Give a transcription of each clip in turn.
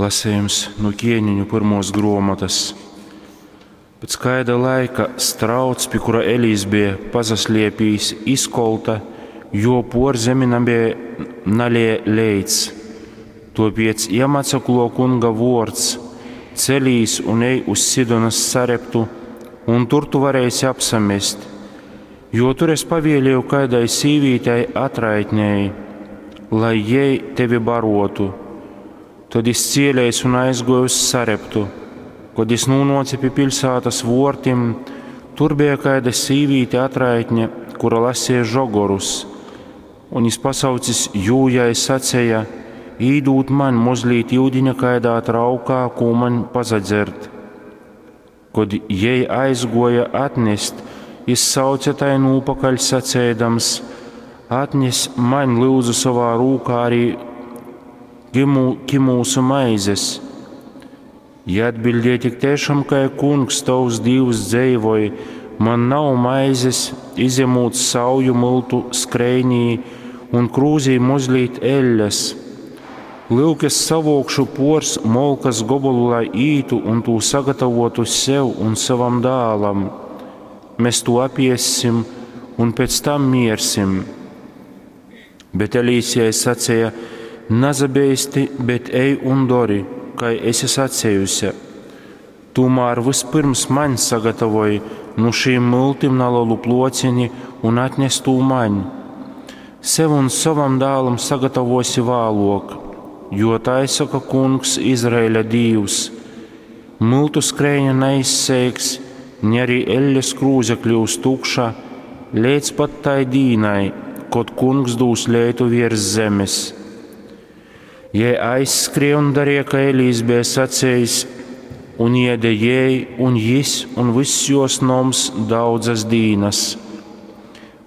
Lasejums nu Ķieniņu pyrmuos gruomotys. Pec kaida laika strauts, pi kura Elijs beja pasasliepīs, izkolta, jo puor zemi nabeja naleja leits. Tuopiec jam atsakluo Kunga vuords: Celīs un ej uz Sidonas Sareptu, un tur tu vareisi apsamest, jo tur es pavielieju kaidai sīvītei atraitnei, lai jei tevi barotu. Tad jis cielēs un aizguoja uz Sareptu. Kod jis nūnuoce pi piļsātas vuortim, tur beja kaida sīvīte atraitne, kura lasīja žogorus. Un jis pasaucis jū jai saceja: Īdūd maņ mozlīt iudiņa kaidā traukā, kū maņ pasadzert. Kod jei aizguoja atnest, jis sauce tai nūpakaļ saceidams: Atnes maņ lyudzu sovā rūkā arī kimūsu maizes. Jei atbildēja: Tik tiešām, kai kungs tovs dīvs dzeivoj, man nav maizes, izjemūt sauju myltu skreinī un krūzī mozlīt eļļas. Lyuk, es savokšu pors molkas gobolu, lai ītu un tū sagatavotu sev un savam dālam. Mēs to apiessim un pēc tam miersim. Bet Elīsijai sacīja: Nazabeisti, bet ej un dori, kai esi sacējusi. Tomēr vispirms maņ sagatavoj nu šīm myltim nalelu plocini un atnes tū maņ. Sev un savam dālam sagatavosi vēlok, jo tai saka kungs Izraēļa dīvs. Myltu skreiņa neizseiks, ne arī eļļas krūze kļūs tukša, līdz pat tai dīnai, kod kungs dūs leitu virs zemes. Jei aizskrēja un darīja, kā Elīs bija sacējis, un iede jei un jis un viss jos noms daudzas dīnas.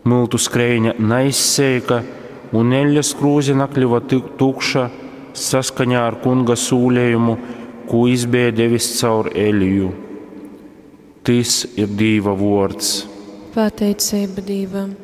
Myltu skreiņa neizseika, un eļļas krūze nakļuva tukša saskaņā ar kunga sūlējumu, ko jis bija devis caur Eliju. Tys ir Dīva vuords. Pateicība Dīvam!